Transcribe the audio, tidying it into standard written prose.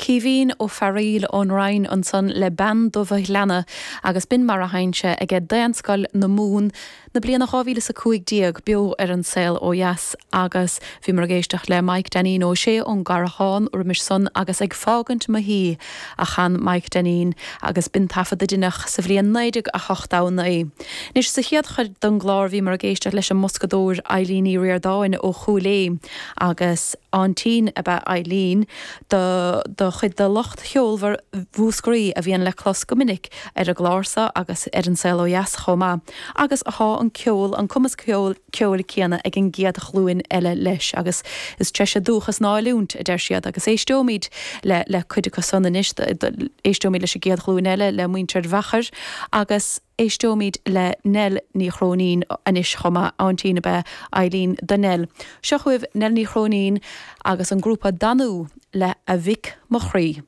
Caoimhín Ó Fearaíl ón Rinn ansan le Bean Dubh a' Ghleanna agus b'in mar a sheinn sé aige Daonscoil na Mumhan na bliana 2015 beo ar An Saol Ó Dheas agus bhíomar ag éisteacht le Maidhc Dainín Ó Sé ón gCarraigeán roimis san agus Ag Fágaint Mo Thí a chan Maidhc Dainín agus b'in taifead a deineadh sa bhliain 1989. Anois sa chéad chuid den gclár bhíomar ag éisteacht leis an mboscadóir Eilín Ní Ríordáin ó Chúil Aodha agus aintín ab ea Eileen do do chuid de lucht cheolmhar Mhúscraí a bhíonn le clos go minic ar an gclár so agus ar An Saol Ó Dheas chomh maith, agus thá an ceol, an cumas ceoil céanna ag an gcéad ghlúin eile leis agus is treise dúchas ná oiliúint, a deir siad, agus éisteoimid le le cuid acu san anois, éisteoimid leis an gcéad ghlúin eile, le muintir Mheachair agus. Éisteoimid le Nell Ní Chróinín anois chomh maith, aintín ab ea Eileen do Nell. Seo chugaibh Nell Ní Chróinín agus an grúpa Danú le A Mhic Mo Chroí.